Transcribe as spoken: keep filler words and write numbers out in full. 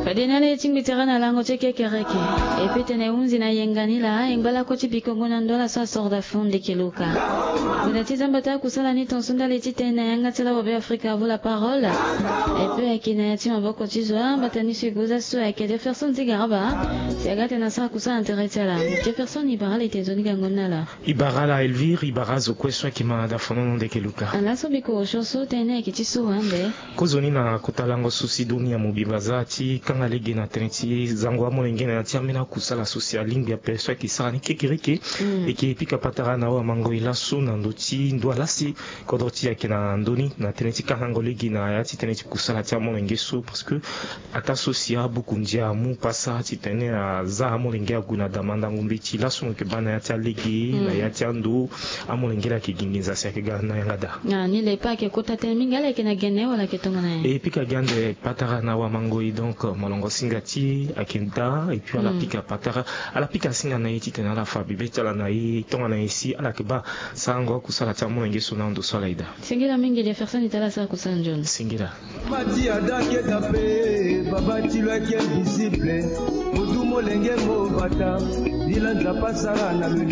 Fade na ala ye ti ngbi tere na lango ti kekereke. E pe tene hunzi na yenga ni laa e ngba lakue ti bikongo na ndo ala so asoro da fo ndeke luka. Ngbenda ti zamba ti akusala ni tonso ndali titene na yanga ti ala wabe afrika avo la parole. E pe ayeke na ya ti maboko ti zo ambata ni so e goza so ayeke jefferson ti garaba. Si aga tene asara kusala na tere ti ala jefferson e bara ala ete nzoni gango ni na ala. E bara ala elvire e bara azo kue so ayeke ma da fo nono ndeke luka. Ala so biko osio so tene ni ayeke ti so wande. Kozoni na kota lango so si doni ya mobimba aza ti kanga lege na tënë ti zango amolenge na ya ti ambeni akusala so si alingbi ape so ayeke sara ni kekereke. Eke pika patara na awamango e laso na ndö ti ndo alasi. Kodro ti ayeke na ndö ni na tënë ti kangango lege na ya ti tënë ti kusala ti amolenge so parce que ataa so si abuku ndia amu pasa titene aza amolenge ague na da mandango mbeti laso mo yeke baa na ya ti alege na ya ti ando. Amolenge laa ayeke gi nginza si ayeke ga na yanga daa. Ni le pe ayeke kota tënë mingi ala yeke na gene wala ayeke tongana nyen? E pika gi ande patara na awamango e donc molongo singa ti e ayeke daa et puis ala pika patara ala pika singa na e titene ala fa bibe ti ala na e tongana nyen si ala yeke baa sarango akusala ti amolenge so na ando so ala e daa. Singila mingi jefferson e tala asara kusala nzoni. Singila. Mati ada keta pe baba ti lo ayeke invisible. Modu molenge mo bata. Ni la nzapa asara na lo.